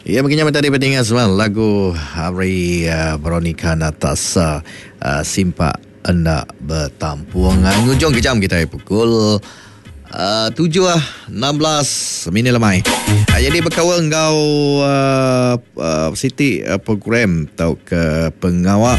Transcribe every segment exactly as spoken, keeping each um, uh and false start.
Ya, begini tadi pendengar semua lagu Hari uh, Veronica Natasa uh, Simpak Enda Betampung. Uh, ngujung ke jam kita pukul uh, tujuh enam belas minit lemai. Uh, jadi berkawal engkau uh, uh, Siti uh, program atau ke pengawal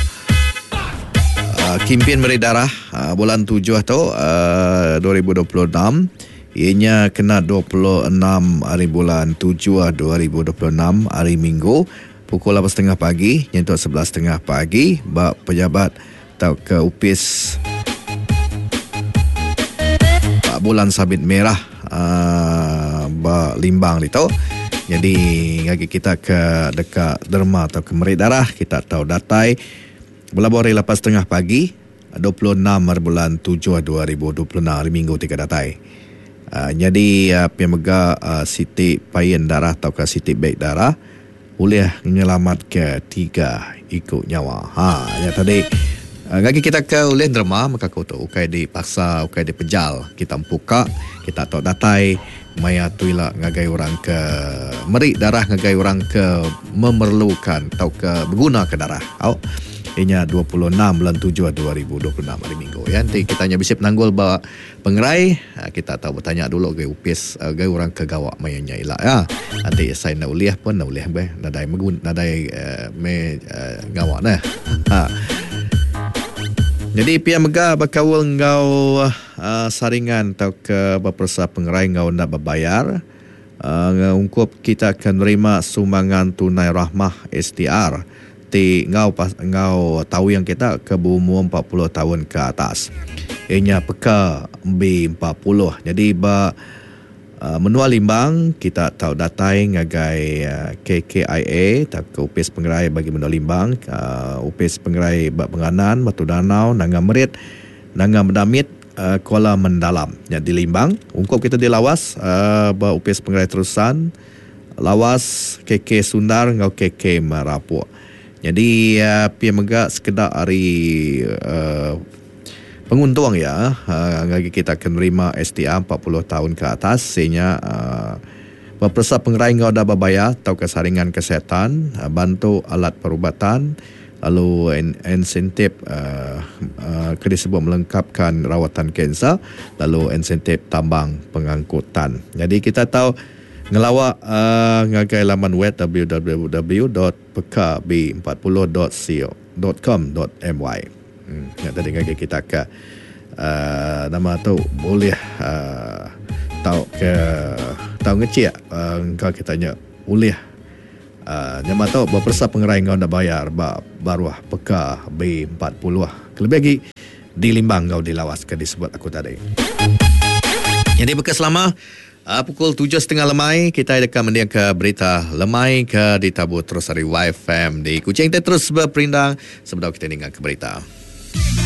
uh, Kimpin Meri Darah uh, bulan tujuh tu uh, dua ribu dua puluh enam. Ianya kena dua puluh enam hari bulan tujuh dua ribu dua puluh enam hari Minggu pukul lapan setengah pagi nyentuk sebelas setengah pagi bak pejabat atau ke upis bak bulan sabit merah uh, bak Limbang itu. Jadi bagi kita ke dekat derma atau ke meri darah kita tahu datai berlabuh hari lapan setengah pagi dua puluh enam hari bulan tujuh dua ribu dua puluh enam hari Minggu tiga datai. Uh, jadi uh, pemega uh, Siti Payen Darah atau ke Siti Beg Darah boleh menyelamat ke tiga ikut nyawa. Ha, ya tadi uh, bagi kita ke ulih derma maka ku tu ukai dipaksa ukai dipejal kita empuka kita tok datai maya tuila ngagai orang ke meri darah ngagai orang ke memerlukan atau ke berguna ke darah. Au. Inya dua puluh enam bulan tujuh dua ribu dua puluh enam hari Minggu ya. Nanti kita nya bisip nanggul ba pengerai, kita tahu bertanya dulu ke upis ke orang ke gawak mayanya ila ya. Nanti saya nak uliah pun nak uliah be nadai megun nadai uh, me uh, gawak dah. Ha. Jadi pia mega bakawul ngau uh, saringan atau ke berpersa pengerai ngau nak berbayar. Uh, ungkup kita akan nerima sumbangan tunai rahmah S T R. Ti ngau pas, ngau tahu yang kita ke berumur empat puluh tahun ke atas. Ianya peka B empat puluh. Jadi ba uh, menua Limbang kita tahu datai ngagai uh, K K I A tak ke Upis Pengerai bagi menua Limbang, uh, Upis Pengerai bak Penganan, Batu Danau, Nanga Merit, Nanga Medamit, uh, Kuala Mendalam. Ya di Limbang, ungkup kita di Lawas uh, ba Upis Pengerai Terusan, Lawas, K K Sundar ngau K K Merapuk. Jadi uh, pia mega sekedar hari uh, penguntung ya uh, bagi kita akan nerima S T R empat puluh tahun ke atas sehingga uh, berpersa pengerai ngau dah berbayar atau kesaringan kesihatan, uh, bantu alat perubatan lalu insentif uh, uh, kena disebut melengkapkan rawatan kanser lalu insentif tambang pengangkutan. Jadi kita tahu ngelawak uh, ngagai laman web w w w dot p k b empat puluh dot co dot com dot m y. Hmm, ya tadi ngagai kita ke uh, nama tu boleh uh, tahu ke tahu ngecek uh, engkau kita nya boleh uh, nama tu berpersa pengerai ngau nak bayar ba baruah P K B empat puluh. Kelebih lagi di Limbang ngau dilawas ke disebut aku tadi. Jadi bekas lama Uh, pukul tujuh setengah lemai kita dekat mendiang ke berita lemai ke ditabur terus dari Y F M di Kuching. Kita terus berperindang sebelum kita dengar ke berita.